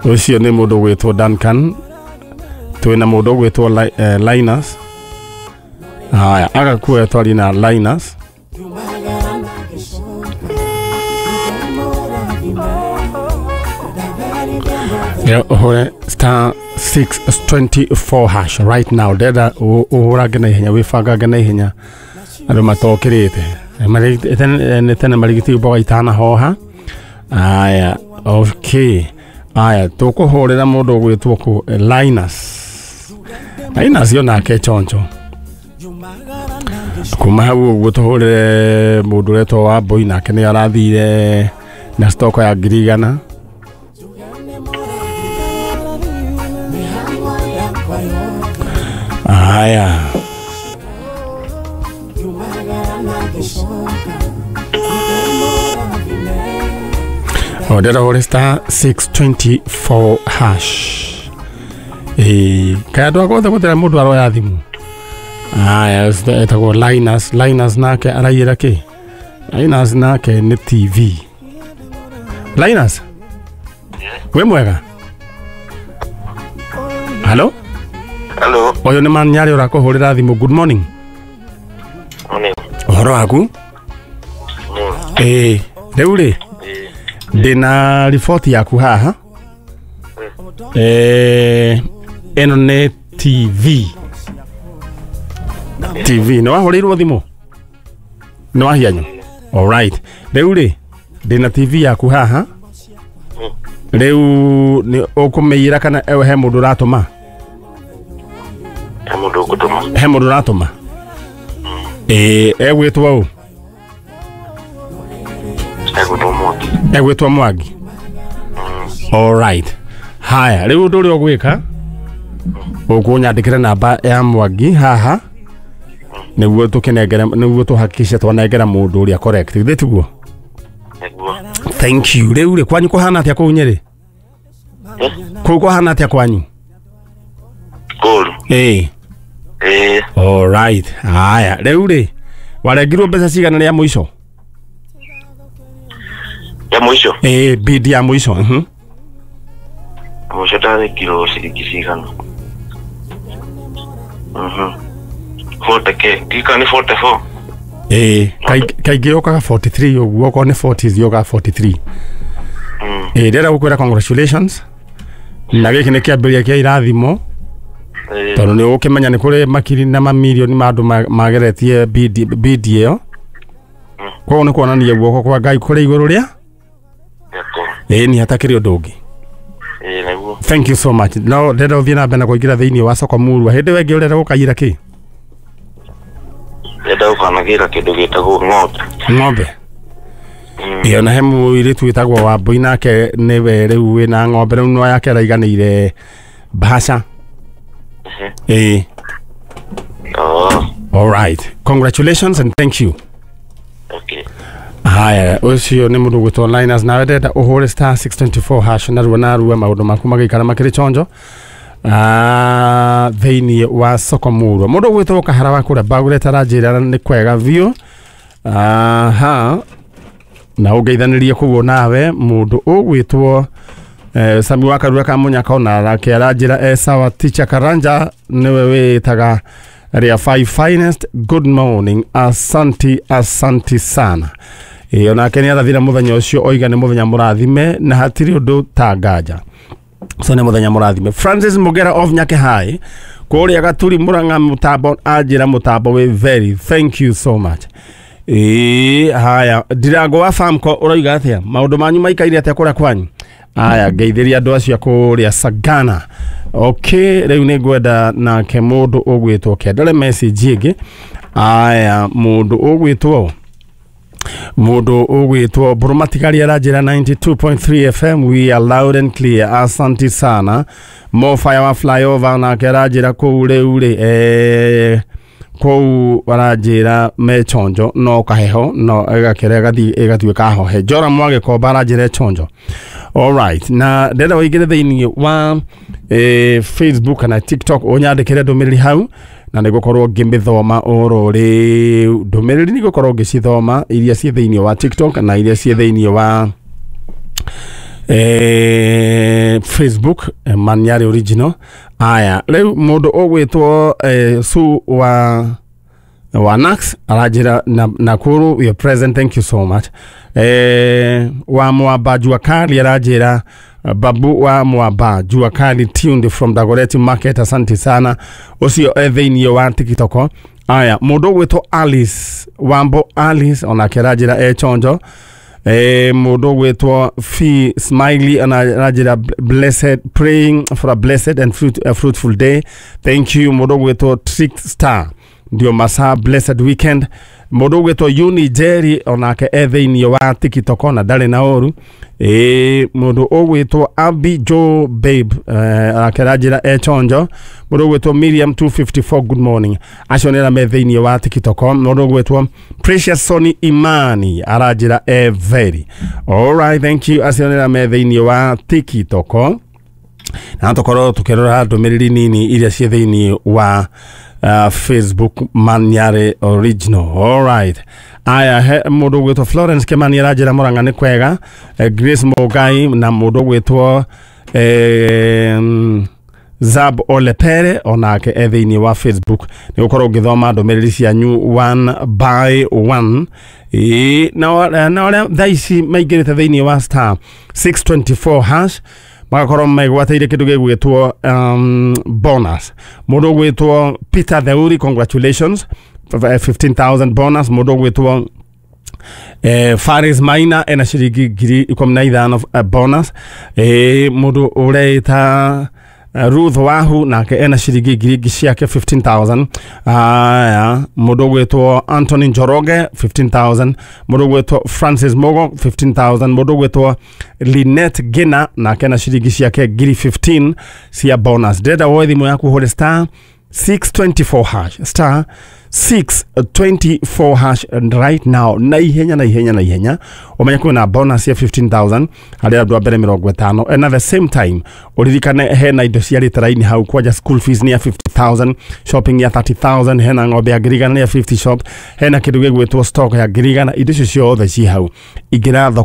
Ũcio nĩ mũndũ ũgwĩtwo Duncan. Twĩna mũndũ ũgwĩtwo Linus. Haya, agakuoya twarie na Linus. Ũhũre star 624 hash right now. Ndenda ũhũrange na ihenya, wĩbangange na ihenya, andũ matokĩrĩte. Nĩ tene marigiti mboga itanahoha. Aya, okay. Aya, tũkũhũrĩra mũndũ ũgwĩtwo kũ Linus. Linus yo nake choncho. Kuma hau ũguo tũhũrĩre mũndũ ũretwo Wambũi, nake nĩ arathire na stoko ya 100,000. Aya. Ndĩrenda ũhũre star 624 hash. Ĩĩ, kaĩ andũ a guothe gũtirĩ mũndũ aroya thimũ. Aya, etagwo Linus. Linus nake araiyĩra kĩ? Linus nake nĩ TV. Linus? Wĩ mwega? Hello? Hello. Ũyũ nĩ Manyarĩ ũrakũhũrĩra thimũ. Good morning. Morning. Ũhoro waku? Ĩĩ, rĩu rĩ, ndĩna riboti yaku haha. Ĩno nĩ TV. TV, nĩ wahũrĩirwo thimũ? Nĩ wahianyũ? Alright. Rĩu rĩ, ndĩna TV yaku haha. Rĩu nĩ ũkũmĩiyĩra kana he mũndũ ũratũma? He mũndũ ũgũtũma. He mũndũ ũratũma? Ĩĩ, egwĩtwo ũ? Egwĩtwo Mwangi. Egwĩtwo Mwangi. Alright. Haya, rĩu ũndũ ũrĩa ũgwĩka, ũkũnyandĩkĩra namba ya Mwangi haha, nĩguo tũkĩnengere, nĩguo tũhakikishe twanengera mũndũ ũrĩa correct. Githĩ tiguo? Nĩguo. Thank you. Rĩu rĩ, kwanyu kũhana atĩa kũu Nyĩrĩ? Kũu kũhana atĩa kwanyu? Kũru. Ĩĩ. Ĩĩ. Alright. Haya, rĩu rĩ, warengirwo mbeca cigana rĩa mũico? Ya mũico? Ĩĩ, bid ya mũico. Mũico ndarengirwo ciringi cigana? 40K. Ndika nĩ 44. Ĩĩ, kaingĩ yũkaga 43 ũguo, okorwo nĩ 40 yũkaga 43. Ĩĩ, ndĩrenda gũkwĩra congratulations. Na gĩkĩ nĩ kĩambĩrĩria kĩa irathimo. Tondũ nĩ ũgũkĩmenya nĩ kũrĩ makiri na mamirioni ma andũ mageretie bid ĩyo. Koguo nĩ kuonania guoko kwa Ngai kũrĩ igũrũ rĩa? Ĩĩ, nĩ hatakĩrĩ ũndũ ũngĩ. Ĩĩ, nĩguo. Thank you so much. No ndĩrenda ũthiĩ na mbere na kũingĩra thĩinĩ wa soko murwa. Hĩndĩ ĩyo ĩngĩ ũrenda gũkaiyĩra kĩ? Ndĩrenda gũkanagĩra kĩndũ gĩtagwo ng'ombe. Ng'ombe? Ĩyo na he mũirĩtu wĩtagwo Wambũi, nake nĩwe rĩu wĩna ng'ombe, rĩu no yake araiganĩire mbaca. Ĩĩ. All right. Congratulations and thank you. Okay. Haya, ũcio nĩ mũndũ ũgwĩtwo Linus, nawe ndĩrenda ũhũre star 624 hash narua narua maũndũ maku magĩikara makĩrĩ chonjo. Thĩinĩ wa soko murwa. Mũndũ ũgwĩtwo Kahara wa kũrĩa Bagũrete aranjĩra nĩ kwega biũ. Aha. Na ũngeithanĩrie kũguo nawe mũndũ ũgwĩtwo Sami wa Karura ka Mũnyaka ona nake aranjĩra e sawa. Teacher Karanja nĩwe wĩtaga Ria 5 finest. Good morning. Asanti, asanti sana. Ĩĩ, onake nĩ arathira mũthenya ũcio, oiga nĩ mũthenya mũrathime na hatirĩ ũndũ ta nganja. So nĩ mũthenya mũrathime. Francis Mugera of Nyake High kũrĩa Gaturi Murang'a mũtambo anjĩra mũtambo wĩ very. Thank you so much. Ĩĩ, haya, Ndirango wa Famco ũroiga atĩa? Maũndũ manyu maikaire atĩa kũrĩa kwanyu? Aya, ngeithĩria andũ acio kũrĩa Sagana. Okay, rĩu nĩ ngwenda nake mũndũ ũgwĩtwo kĩandore message ĩngĩ. Aya, mũndũ ũgwĩtwo Mbũrũmatigari aranjĩra 92.3 FM, we are loud and clear. Asante sana. Mo fire wa flyover nake aranjĩra kũu rĩu rĩ, kũu aranjĩra me chonjo no kaheho no ĩgakĩra ĩgathiĩ ĩgatuĩka hohe. Jora Mwagĩkomba aranjĩra chonjo. All right, na ndĩrenda ũingĩre thĩinĩ wa Facebook kana TikTok ũnyandĩkĩre ndũmĩrĩri hau, na nĩngũkorwo ngĩmĩthoma oro rĩu. Ndũmĩrĩri nĩngũkorwo ngĩcithoma iria ciĩ thĩinĩ wa TikTok na iria ciĩ thĩinĩ wa Facebook, Manyari Original. Aya, rĩu mũndũ ũgwĩtwo Su wa Nax aranjĩra na, Nakuru we are present, thank you so much. Wa Mwamba Jua Kali aranjĩra, Babu wa Mwamba Jua Kali tuned from Dagoretti Market, asante sana, ũcio e thĩinĩ wa TikTok. Aya, mũndũ ũgwĩtwo Alice Wambo Alice onake aranjĩra e chonjo. Mũndũ ũgwĩtwo Fi Smiley aranjĩra blessed, praying for a blessed and fruitful day, thank you. Mũndũ ũgwĩtwo Trick Star, ndio masaa, blessed weekend. Mũndũ ũgwĩtwo Uni Jerry onake e thĩinĩ wa TikTok na ndarĩ na ũru. Mũndũ ũgwĩtwo Abi Joe Babe, ake aranjĩra e chonjo. Mũndũ ũgwĩtwo Miriam 254, good morning. Acio nĩ arĩa me thĩinĩ wa TikTok. Mũndũ ũgwĩtwo Precious Sony Imani aranjĩra e very alright, thank you. Acio nĩ arĩa me thĩinĩ wa TikTok, na tũkorwo tũkĩrora ndũmĩrĩri nini iria ciĩ thĩinĩ wa Facebook Manyare Original. Alright. Aya, he mũndũ ũgwĩtwo Florence Kimani aranjĩra Mũrang'a nĩ kwega. Grace Mũngai na mũndũ ũgwĩtwo Zab Olepere onake e thĩinĩ wa Facebook. Nĩ gũkorwo ũngĩthoma ndũmĩrĩri cianyu one by one. Ĩĩ, na arĩa thaa ici maingĩrĩte thĩinĩ wa *624# magakorwo megwatĩire kĩndũ gĩgwĩtwo bonus. Mũndũ ũgwĩtwo Peter Theuri, congratulations, 15,000 bonus. Mũndũ ũgwĩtwo Faris Maina ena ciringi 15,000 bonus. Mũndũ ũreita Ruth Wahu nake ena ciringi ngiri ciake 15,000. Aya, mũndũ ũgwĩtwo Anthony Njoroge 15,000. Mũndũ ũgwĩtwo Francis Mogo 15,000. Mũndũ ũgwĩtwo Linet Gina nake ena ciringi ciake ngiri 15 cia bonus. Ndĩrenda woe thimũ yaku ũhũre *624#, *624# and right now, na ihenya, na ihenya, na ihenya, ũmenye kwĩna bonus ya 15,000 harĩ andũ a mbere 50. And at the same time ũririkane hena indo cia rĩtara-inĩ hau kwanja, school fees nĩ ya 50,000, shopping ya 30,000, hena ng'ombe ya 100,000 ya 50 shop, hena kĩndũ gĩgwĩtwo stock ya 100,000. Indo icio ciothe ci hau ingĩra thoko.